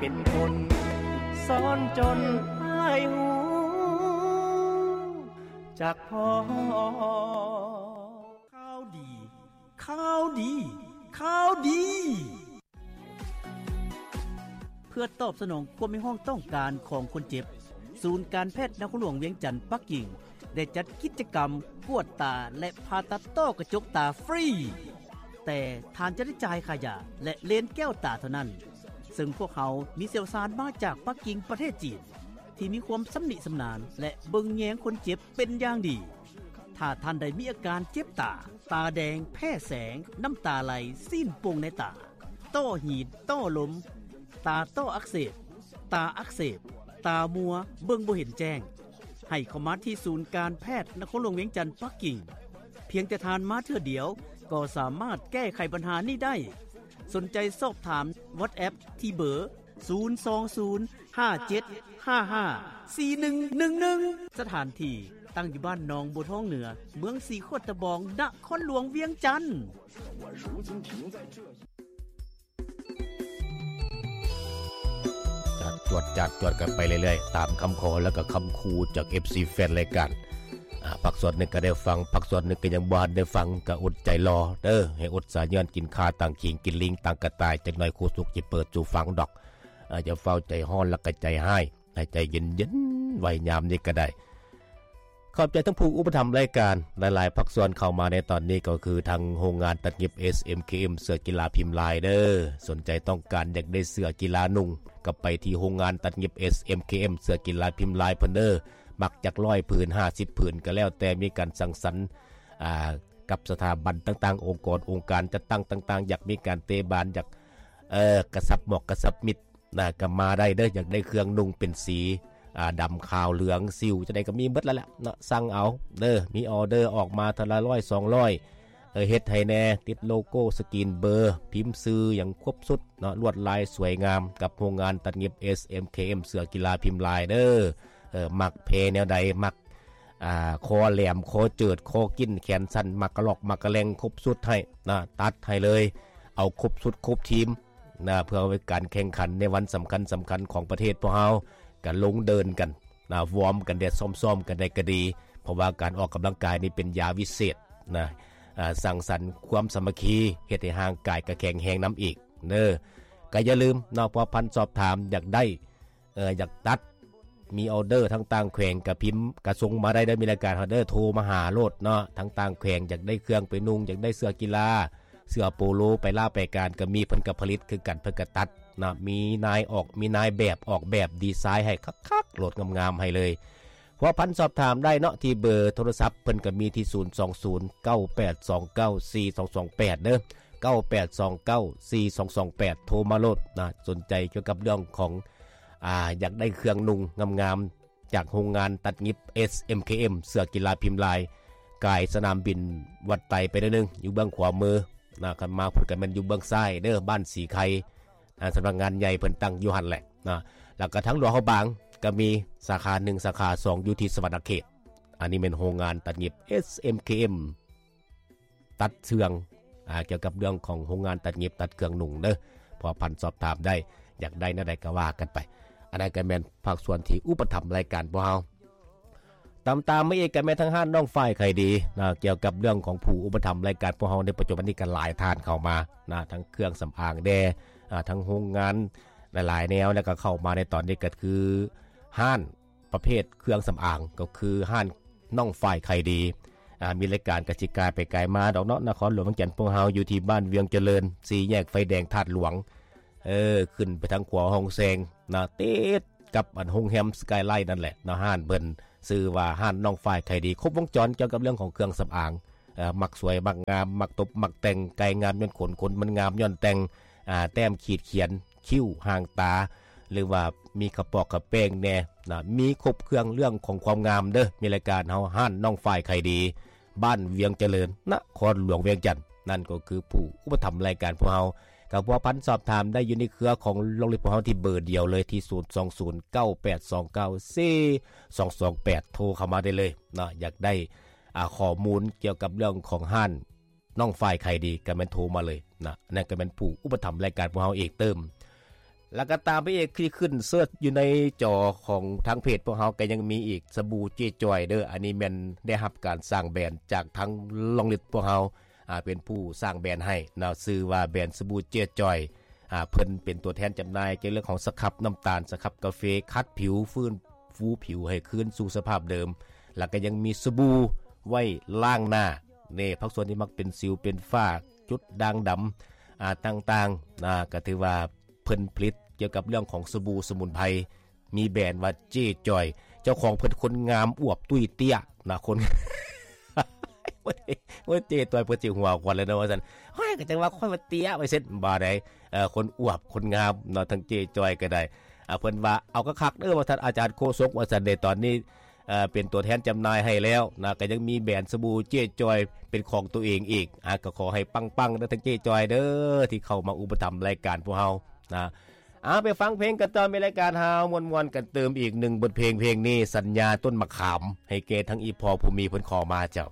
ເປັນຄົນສອນຈົນໃຫ້ຮູ້ຈັກພໍ. ຂ່າວດີ ຂ່າວດີ ຂ່າວດີ. ເພື່ອຕອບສະໜອງຄວາມຮຽກຮ້ອງຕ້ອງການຂອງຄົນເຈັບ, ສູນການແພດນະຄອນຫຼວງວຽງຈັນ ປັກກິ່ງ ໄດ້ຈັດກິດຈະກຳກວດຕາ ແລະ ຜ່າຕັດຕ້ອກະຈົກຕາຟຣີ, ແຕ່ທ່ານຈະໄດ້ຈ່າຍຄ່າຢາ ແລະ ເລນແກ້ວຕາເທົ່ານັ້ນ, ເຊິ່ງພວກເຮົາມີຊ່ຽວຊານມາຈາກປັກກິ່ງ ປະເທດຈີນ ທີ່ມີຄວາມຊຳນິຊຳນານ ແລະ ເບິ່ງແຍງຄົນເຈັບເປັນຢ່າງດີ. ຖ້າທ່ານໃດມີອາການເຈັບຕາ, ຕາແດງ, ແພ້ແສງ, ນ້ຳຕາໄຫຼ, ຊີ້ນໂປ່ງໃນຕາ, ຕ້ອຫີນ, ຕ້ລົມ, ຕາຕ້ອອັກເສບ, ຕາອັກເສບ, ຕາມົວ, ເບິ່ງບໍ່ເຫັນແຈ້ງ, ໃຫ້ເຂົ້າມາທີ່ສູນການແພດນະຄອນຫຼວງວຽງຈັນ ປັກກິ່ງ. ພຽງແຕ່ທ່ານມາເທື່ອດຽວກໍສາມາດແກ້ໄຂບັນຫານີ້ໄດ້. ສົນໃຈສອບຖາມ WhatsApp ທີ່ເບີ ສູນສອງສູນ ຫ້າເຈັດຫ້າຫ້າ ສີ່ໜຶ່ງໜຶ່ງໜຶ່ງ. ສະຖານທີ່ຕັ້ງຢູ່ບ້ານໜອງບົວທອງເໜືອ, ເມືອງສີຂວດຕະບອງ, ນະຄອນຫຼວງວຽງຈັນ. ຈາດຈວດ ຈາດຈວດກັນໄປເລື້ອຍໆ ຕາມຄຳຂໍ ແລະ ກໍຄຳຂູ່ຈາກ ເອັຟຊີ ແຟນລາຍການ. ອາ ພາກສ່ວນໜຶ່ງກໍໄດ້ຟັງ, ພາກສ່ວນໜຶ່ງກໍຍັງບໍ່ທັນໄດ້ຟັງ, ກໍອົດໃຈລໍເດີ, ໃຫ້ອົດສາຍຍ້ອນ ກິນຂ່າຕັ້ງຂີງ ກິນລີງຕັ້ງກະຕ່າຍ, ຈັກໜ່ອຍຄູສຸກຊິເປີດສູ່ຟັງດອກ. ອາ ຢ່າຟ້າວໃຈຮ້ອນ ແລ້ວກໍໃຈຮ້າຍ, ໃຫ້ໃຈເຢັນໆ ໄວ້ຍາມນີ້ກໍໄດ້. ຂອບໃຈທັງຜູ້ອຸປະຖຳລາຍການ ຫຼາຍໆພາກສ່ວນເຂົ້າມາໃນຕອນນີ້ ກໍຄືທາງໂຮງງານຕັດຫຍິບ ເອສເອັມເຄເອັມ ເສື້ອກິລາພິມລາຍເດີ. ສົນໃຈຕ້ອງການຢາກໄດ້ເສື້ອກິລານຸ່ງ ກໍໄປທີ່ໂຮງງານຕັດຫຍິບ ເອສເອັມເຄເອັມ ເສື້ອກິລາພິມລາຍເພິ່ນເດີ. ມັກຈັກຮ້ອຍຜືນ ຫ້າສິບຜືນ ກໍແລ້ວແຕ່ມີການສັງສັນ ອາ ກັບສະຖາບັນຕ່າງໆ ອົງກອນອົງການຈັດຕັ້ງຕ່າງໆ ຢາກມີການເຕະບານ ຢາກ ເອີ ກະຊັບໝອກກະຊັບມິດ ນະ ກໍມາໄດ້ເດີ. ຢາກໄດ້ເຄື່ອງນຸ່ງເປັນສີ ອາ ດຳ ຂາວ ເຫຼືອງ ສິວ ຈັ່ງໃດກໍມີເບິດແລ້ວແຫຼະເນາະ, ສັ່ງເອົາເດີ. ມີອໍເດີອອກມາເທື່ອລະຮ້ອຍສອງຮ້ອຍ ເອີ ເຮັດໃຫ້ແດ່, ຕິດໂລໂກ້ ສະກຣີນເບີ ພິມຊື່ ຫຍັງຄົບຊຸດເນາະ, ລວດລາຍສວຍງາມ ກັບໂຮງງານຕັດຫຍິບ ເອສເອັມເຄເອັມ ເສື້ອກິລາພິມລາຍເດີ. ເອີ ມັກແພແນວໃດ, ມັກ ອ່າ ຄໍແຫຼມ, ຄໍເຈີດ, ຄໍກິ້ນ, ແຂນສັ້ນ, ມັກກະລອກ, ມັກກະແລັງ, ຄົບຊຸດໃຫ້ນະ, ຕັດໃຫ້ເລີຍ, ເອົາຄົບຊຸດຄົບທີມນະ, ເພື່ອເອົາໄວ້ການແຂ່ງຂັນໃນວັນສຳຄັນໆຂອງປະເທດພວກເຮົາ, ກະລົງເດີ່ນກັນນະ, ວອມກັນແດ່, ຊ້ອມໆກັນໄດ້ກະດີ, ເພາະວ່າການອອກກຳລັງກາຍນີ້ເປັນຢາວິເສດນະ, ອ່າ ສ້າງສັນຄວາມສາມັກຄີ, ເຮັດໃຫ້ຮ່າງກາຍກະແຂງແຮງນຳອີກເດີ. ກະຢ່າລືມເນາະ, ພົວພັນສອບຖາມ ຢາກໄດ້ ເອີ ຢາກຕັດ ມີອໍເດີທາງຕ່າງແຂວງກະພິມ ກະສົ່ງມາໄດ້ເດີ, ມີລາຍການເຮົາເດີ, ໂທມາຫາໂລດເນາະ. ທາງຕ່າງແຂວງຢາກໄດ້ເຄື່ອງໄປນຸ່ງ, ຢາກໄດ້ເສື້ອກິລາ, ເສື້ອໂປໂລ ໄປລາວໄປການກະມີ, ເພິ່ນກະຜະລິດຄືກັນ, ເພິ່ນກະຕັດເນາະ, ມີນາຍອອກ ມີນາຍແບບອອກແບບດີໄຊໃຫ້ຄັກໆໂລດ, ງາມໆໃຫ້ເລີຍ. ພົວພັນສອບຖາມໄດ້ເນາະ ທີ່ເບີໂທລະສັບເພິ່ນກໍມີທີ່ ສູນສອງສູນ ເກົ້າແປດສອງເກົ້າ ສີ່ສອງສອງແປດ ເດີ, ເກົ້າແປດສອງເກົ້າ ສີ່ສອງສອງແປດ ໂທມາໂລດນະ. ສົນໃຈກ່ຽວກັບເລື່ອງຂອງ ອາ ຢາກໄດ້ເຄື່ອງນຸ່ງງາມໆ ຈາກໂຮງງານຕັດຫຍິບ ເອສເອັມເຄເອັມ ເສື້ອກິລາພິມລາຍ, ກາຍສະໜາມບິນວັດໄຕໄປໜ້ອຍໜຶ່ງ ຢູ່ເບື້ອງຂວາມືນະ, ຄັນມາພຸ້ນກໍແມ່ນຢູ່ເບື້ອງຊ້າຍເດີ, ບ້ານສີໄຄ ອ່າ ສຳນັກງານໃຫຍ່ເພິ່ນຕັ້ງຢູ່ຫັ້ນແຫຼະນະ. ແລ້ວກໍທາງຫຼວງພະບາງກໍມີສາຂາໜຶ່ງ ສາຂາສອງ ຢູ່ທີ່ສະຫວັນນະເຂດ. ອັນນີ້ແມ່ນໂຮງງານຕັດຫຍິບ ເອສເອັມເຄເອັມ ຕັດເຄື່ອງ ອ່າ ກ່ຽວກັບເລື່ອງຂອງໂຮງງານຕັດຫຍິບ ຕັດເຄື່ອງນຸ່ງເດີ. ພົວພັນສອບຖາມໄດ້, ຢາກໄດ້ແນວໃດກໍວ່າກັນໄປ. ອັນນັ້ນກໍແມ່ນພາກສ່ວນທີ່ອຸປະຖຳລາຍການພວກເຮົາ. ຕາມໆມາອີກກໍແມ່ນທາງຮ້ານນ້ອງຝ້າຍໄຂດີນະ, ກ່ຽວກັບເລື່ອງຂອງຜູ້ອຸປະຖຳລາຍການພວກເຮົາໃນປັດຈຸບັນນີ້ກໍຫຼາຍທ່ານເຂົ້າມານະ, ທັງເຄື່ອງສຳອາງແດ່ ອາ ທັງໂຮງງານຫຼາຍໆແນວ, ແລ້ວກໍເຂົ້າມາໃນຕອນນີ້ກໍຄືຮ້ານປະເພດເຄື່ອງສຳອາງ ກໍຄືຮ້ານນ້ອງຝ້າຍໄຂດີ. ອາ ມີລາຍການກະຊິກາຍໄປກາຍມາດອກເນາະ, ນະຄອນຫຼວງວຽງຈັນພວກເຮົາຢູ່ທີ່ບ້ານວຽງຈະເລີນ ສີ່ແຍກໄຟແດງທາດຫຼວງ, ເອີ ຂຶ້ນໄປທາງຂວາຫ້ອງແຊງນະ, ຕິດ ກັບອັນໂຮງແຮມສະກາຍໄລນັ້ນແຫຼະເນາະ. ຮ້ານເພິ່ນຊື່ວ່າຮ້ານນ້ອງຝ້າຍໄຂດີ, ຄົບວົງຈອນກ່ຽວກັບເລື່ອງຂອງເຄື່ອງສຳອາງ. ເອີ ມັກສວຍມັກງາມ, ມັກຕົບມັກແຕ່ງ, ໄກ່ງາມຍ້ອນຂົນ, ຂົນມັນງາມຍ້ອນແຕ່ງ, ອາ ແຕ້ມຂີດຂຽນ, ຄິ້ວ, ຫາງຕາ, ຫຼືວ່າມີຂະປອກຂະແປ້ງແດ່ນະ, ມີຄົບເຄື່ອງເລື່ອງຂອງຄວາມງາມເດີ. ມີລາຍການເຮົາ ຮ້ານນ້ອງຝ້າຍໄຂດີ ບ້ານວຽງຈະເລີນ ນະຄອນຫຼວງວຽງຈັນ, ນັ້ນກໍຄືຜູ້ອຸປະຖຳລາຍການພວກເຮົາ. ກໍພົວພັນສອບຖາມໄດ້ຢູ່ໃນເຄືອຂອງໂລງເລັບພວກເຮົາທີ່ເບີດຽວເລີຍ ທີ່ ສູນສອງສູນ ເກົ້າແປດສອງເກົ້າ ສີ່ສອງສອງແປດ ໂທເຂົ້າມາໄດ້ເລີຍເນາະ. ຢາກໄດ້ ອາ ຂໍ້ມູນກ່ຽວກັບເລື່ອງຂອງຮ້ານນ້ອງຝ້າຍໄຂດີ ກໍແມ່ນໂທມາເລີຍນະ, ອັນນັ້ນກໍແມ່ນຜູ້ອຸປະຖຳລາຍການພວກເຮົາເອງເຕີມ. ແລ້ວກໍຕາມໄປອີກ ທີ່ຂຶ້ນເສີດຢູ່ໃນຈໍຂອງທາງເພຈພວກເຮົາ ກໍຍັງມີອີກ ສະບູເຈ້ຈ້ອຍເດີ້. ອັນນີ້ແມ່ນໄດ້ຮັບການສ້າງແບຣນຈາກທາງລອງລິດພວກເຮົາ ອ່າ ເປັນຜູ້ສ້າງແບຣນໃຫ້ເນາະ ຊື່ວ່າແບຣນສະບູເຈ້ຈ້ອຍ. ອ່າ ເພິ່ນເປັນຕົວແທນຈຳໜ່າຍກ່ຽວເລື່ອງຂອງສະຄັບນ້ຳຕານ ສະຄັບກາເຟ ຂັດຜິວ ຟື້ນຟູຜິວໃຫ້ຄືນສູ່ສະພາບເດີມ ແລ້ວກໍຍັງມີສະບູໄວ້ລ້າງໜ້າ ນີ້ ພາກສ່ວນທີ່ມັກເປັນສິວເປັນຝ້າ ຈຸດດ່າງດຳ ອ່າ ຕ່າງໆ ອ່າ ກໍຖືວ່າເພິ່ນຜະລິດກ່ຽວກັບເລື່ອງຂອງສະບູສະໝຸນໄພ ມີແບຣນວ່າເຈ້ຈ້ອຍ ເຈົ້າຂອງເພິ່ນຄົນງາມອວບຕຸ້ຍເຕ້ຍນະ ຄົນ ໂອ້ຍ ເຈ້ຈ້ອຍ ເພິ່ນຊິຫົວຄວັນແລ້ວເນາະ ວ່າຊັ້ນ. ໂອ້ຍ ກໍຈັ່ງວ່າຂ້ອຍວ່າເຕ້ຍ ວ່າຊັ້ນ ບໍ່ໄດ້ ເອີ ຄົນອວບຄົນງາມເນາະ ທັງເຈ້ຈ້ອຍກໍໄດ້. ອ່າ ເພິ່ນວ່າ ເອົາຄັກໆເດີ້ ວ່າຊັ້ນ ອາຈານໂຄສົກ ວ່າຊັ້ນເດ. ຕອນນີ້ ເອີ ເປັນຕົວແທນຈຳໜ່າຍໃຫ້ແລ້ວນະ ກໍຍັງມີແບຣນສະບູເຈ້ຈ້ອຍເປັນຂອງຕົວເອງອີກ. ອ່າ ກໍຂໍໃຫ້ປັງໆເດີ້ ທັງເຈ້ຈ້ອຍເດີ້ ທີ່ເຂົ້າມາອຸປະຖຳລາຍການພວກເຮົານະ. ອ່າ ໄປຟັງເພງກັນຕໍ່ ມີລາຍການເຮົາມ່ວນໆກັນຕື່ມອີກໜຶ່ງບົດເພງ. ເພງນີ້ສັນຍາຕົ້ນມະຂາມ ໃຫ້ແກ່ທັງອີ່ພໍ່ຜູ້ມີເພິ່ນຂໍມາເຈົ້າ.